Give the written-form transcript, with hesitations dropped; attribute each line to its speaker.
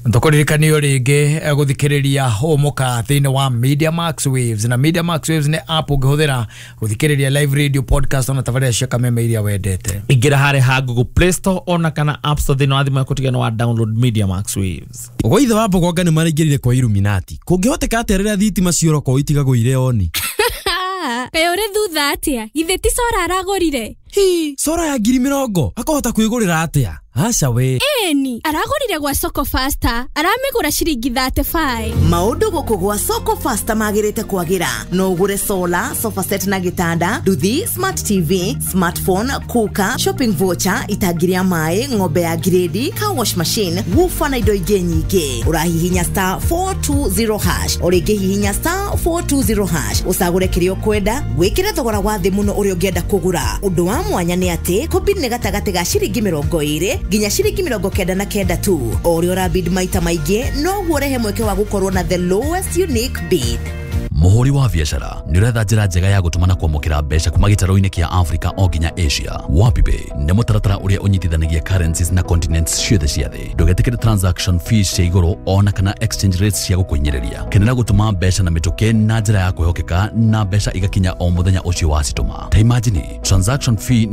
Speaker 1: Tũkũririkanio rĩngĩ gũthikĩrĩria Hũmũka thĩinĩ wa Media Max Waves, na Media Max Waves nĩ app ũngĩhũthĩra gũthikĩrĩria live radio, podcast ona tabarĩra cia kameme iria wendete.
Speaker 2: Ingĩra harĩ ha Google Play Store ona kana App Store thĩinĩ wa thimũ yaku tigana wa download Media Max Waves.
Speaker 3: Gwa ithe wa Mbogonga nĩ maraingĩrire kwa Illuminati. Kũngĩhoteka atĩa rĩrĩa thitima ciora itigagwo irĩ on?
Speaker 4: Kaĩ ũrĩ thutha atĩa? Githĩ ti solar aragũrire?
Speaker 3: Hi, solar ya 20,000 akahota kwĩgũrĩra atĩa? Aca we.
Speaker 4: Ĩni, aragũrire gwa Soko Faster, aramĩgũra ciringi 35.
Speaker 5: Maũndũ gũkũ gwa Soko Faster magĩrĩte kwagĩra. No ũgũre solar, sofa set na gĩtanda, nduthi, smart TV, smartphone, cooker, shopping voucher, itangi rĩa maĩ, ng'ombe ya grade, car wash machine, woofer na indo ingĩ nyingĩ. Ũrahihinya *420#, o rĩngĩ hihinya *420# ũcagũre kĩrĩa ũkwenda, wĩkĩre thogora wa thĩ mũno ũrĩa ũngĩenda kũgũra. Ũndũ wa mwanya nĩ atĩ kũbid nĩ gatagatĩ ga ciringi 20 nginya ciringi 99 tu. O ũrĩa ũrabid maita maingĩ noguo ũrehe mweke wa gũkorwo na the lowest unique bid.
Speaker 6: Mũhũri wa biacara, nĩ ũretha njĩra njega ya gũtũma na kwamũkĩra mbeca kuma gĩtarũ-inĩ kĩa Africa o nginya Asia? WapiPay nĩ mũtaratara ũrĩa ũnyitithanagia currencies na continents ciothe cia thĩ. Ndũgetĩkĩre transaction fees cia igũrũ ona kana exchange rates cia gũkũhinyĩrĩria. Kenera gũtũma mbeca na mĩtũkĩ na njĩra ya kwĩhokeka, na mbeca igakinya o mũthenya ũcio wacitũma. Ta imagine transaction fee.